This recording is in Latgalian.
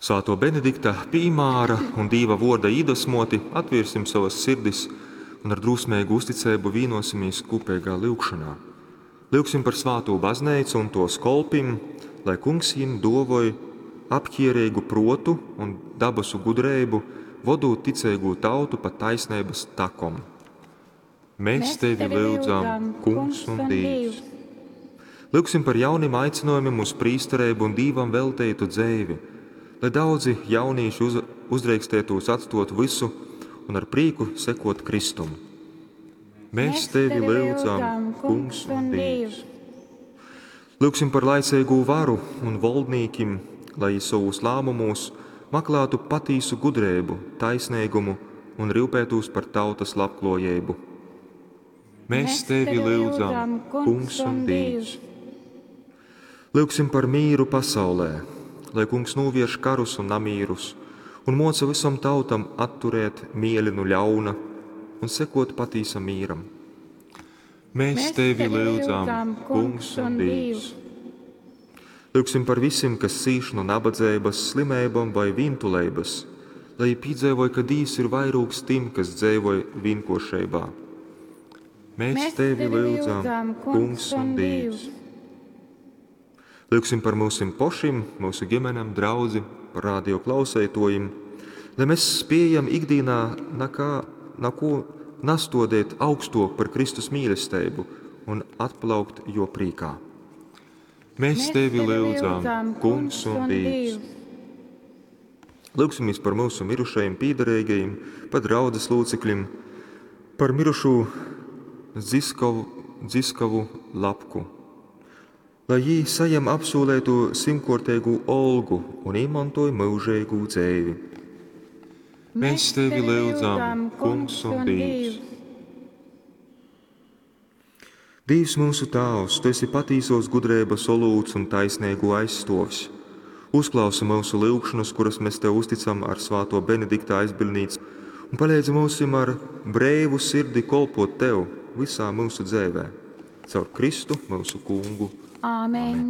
Svātō Benedikta pīmāra un Dīva vōrda īdvesmōti atvērsim savas sirdis un ar drūsmeigu uzticeibu vīnosimies kūpeigā lyugšonā. Lyugsim par svātū bazneicu un tōs kolpim, lai Kungs jim dōvoj apķierīgu prōtu un dabasu gudreibu, vodūt ticeigū tautu pa taisneibas takom. Mēs tevi lyudzam, Kungs un Dīvs. Lyugsim par jaunim aicinājumiem uz prīstereibu un Dīvam velteitu dzeivi, lai daudzi jaunīši uzdreikstētūs atstot vysu un ar prīku sekot Kristum. Mēs tevi lyudzam, Kungs un Dīvs. Lyugsim par laiceigū varu un voldnīkim, lai jī savūs lēmumūs maklātu patīsu gudreibu, taisnīgumu un rūpētūs par tautas labklājību. Mēs tevi lyudzam, Kungs un Dīvs. Lyugsim par mīru pasaulē, lai Kungs novērš karus un namīrus un moca visam tautam atturēt mieli nu ļauna un sekot patīsam mīram. Mēs tevi lyudzam, Kungs un Dīvs. Lyugsim par visiem, kas cīš no nabadzības, slimībām vai vientuleibas, lai viņi piedzīvoj, ka Dīvs ir vairūgs tiem, kas dzīvoj vienkošībā. Mēs tevi lyudzam, Kungs un Dīvs. Lyugsim par mūsim pošim, mūsu ģimenēm, draudzi, par radio klausētojiem, lai mēs spējam ikdienā nakā, nako nastodēt augstok par Kristus mīlestību un atplaukt jo prīkā. Mēs tevi lyudzam, Kungs un Dīvs. Lūgsimies par mūsu mirušajiem pīdarīgajiem, par draudzes locekļiem, par mirušo Dziskavu, Dziskavu Lapku, lai jī saņem apsūlēto simtkārtīgu olgu un iemantoja mūžīgu dzeivi. Mēs tevi lyudzam, Kungs un Dīvs. Dīvs mūsu Tāvs, Tu esi patīsos gudrības olūts un taisnīgu aizstovs. Uzklausi mūsu lūgšanas, kuras mēs Tev uzticam ar svāto Benedikta aizbildnīcu, un palīdzi mūsim ar breivu sirdi kolpot Tev visā mūsu dzīvē. Caur Kristu mūsu kungu. Āmen.